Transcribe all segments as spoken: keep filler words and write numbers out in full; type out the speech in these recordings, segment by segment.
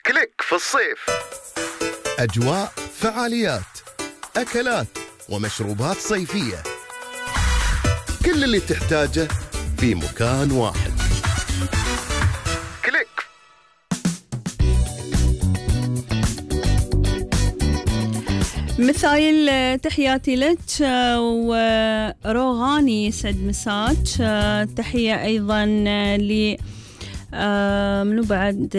كليك في الصيف. أجواء، فعاليات، أكلات ومشروبات صيفية، كل اللي تحتاجه في مكان واحد. كليك. مثايل تحياتي لك وروغاني يسعد مساك. تحية أيضا ل منو بعد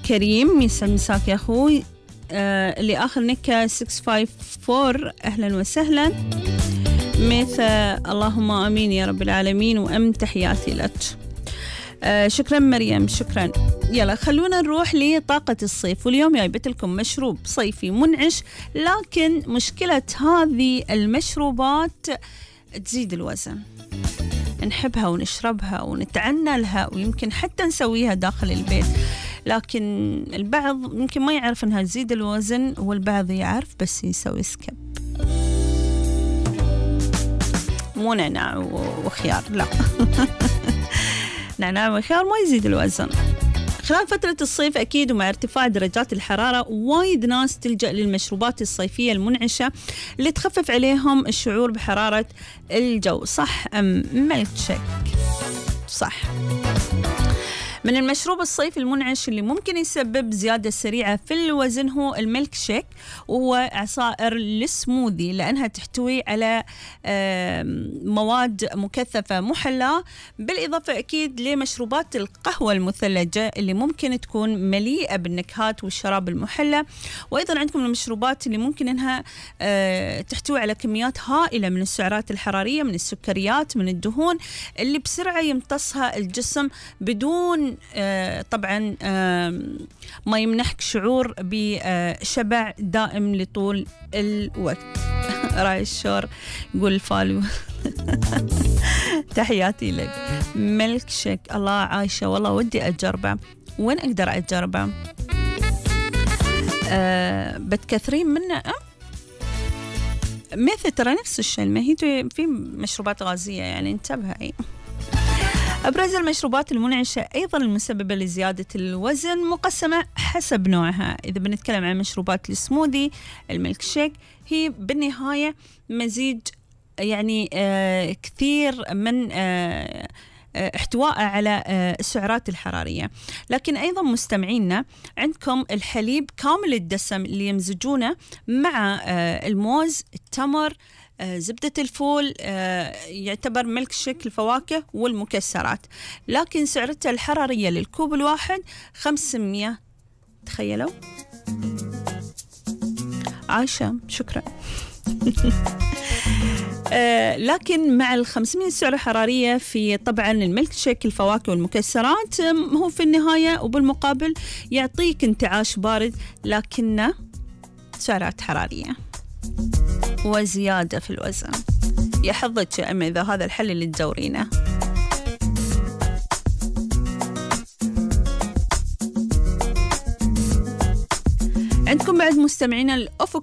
كريم يسعد مساك يا أخوي. اللي آخر نكة ستة خمسة أربعة أهلا وسهلا. مثل اللهم آمين يا رب العالمين وأم تحياتي لك. آه شكرا مريم شكرا. يلا خلونا نروح لطاقة الصيف، واليوم جايبت لكم مشروب صيفي منعش، لكن مشكلة هذه المشروبات تزيد الوزن. نحبها ونشربها ونتعنى لها ويمكن حتى نسويها داخل البيت، لكن البعض يمكن ما يعرف انها تزيد الوزن والبعض يعرف بس يسوي سكب. مو نعناع وخيار، لا نعناع وخيار ما يزيد الوزن. خلال فترة الصيف أكيد ومع ارتفاع درجات الحرارة وايد ناس تلجأ للمشروبات الصيفية المنعشة اللي تخفف عليهم الشعور بحرارة الجو. صح أم ميلك شيك؟ صح. من المشروب الصيفي المنعش اللي ممكن يسبب زيادة سريعة في الوزن هو الميلك شيك، وهو عصائر السموذي، لأنها تحتوي على مواد مكثفة محلاة، بالإضافة أكيد لمشروبات القهوة المثلجة اللي ممكن تكون مليئة بالنكهات والشراب المحلى. وأيضا عندكم المشروبات اللي ممكن أنها تحتوي على كميات هائلة من السعرات الحرارية، من السكريات، من الدهون، اللي بسرعة يمتصها الجسم بدون آه طبعا آه ما يمنحك شعور بشبع دائم لطول الوقت. راي الشور يقول الفالو. تحياتي لك. ميلك شيك الله عايشة، والله ودي أجربه. وين أقدر أجربه؟ آه بتكثرين منه أه؟ مثل ترى نفس الشيء، ما هي في مشروبات غازية يعني انتبهي. أبرز المشروبات المنعشة أيضا المسببة لزيادة الوزن مقسمة حسب نوعها. إذا بنتكلم عن مشروبات السموذي الميلك شيك، هي بالنهاية مزيج يعني آه كثير من آه احتوائه على السعرات الحرارية. لكن أيضا مستمعينا عندكم الحليب كامل الدسم اللي يمزجونه مع الموز، التمر، زبدة الفول، يعتبر ميلك شيك الفواكه والمكسرات، لكن سعرته الحرارية للكوب الواحد خمسمية. تخيلوا. عايشة شكرا. آه لكن مع ال خمسمية سعرة حرارية في طبعا الميلك شيك الفواكه والمكسرات، هو في النهاية وبالمقابل يعطيك انتعاش بارد لكنه سعرات حرارية وزيادة في الوزن. يحظك يا أمي إذا هذا الحل اللي تدورينه. عندكم بعد مستمعين الأفق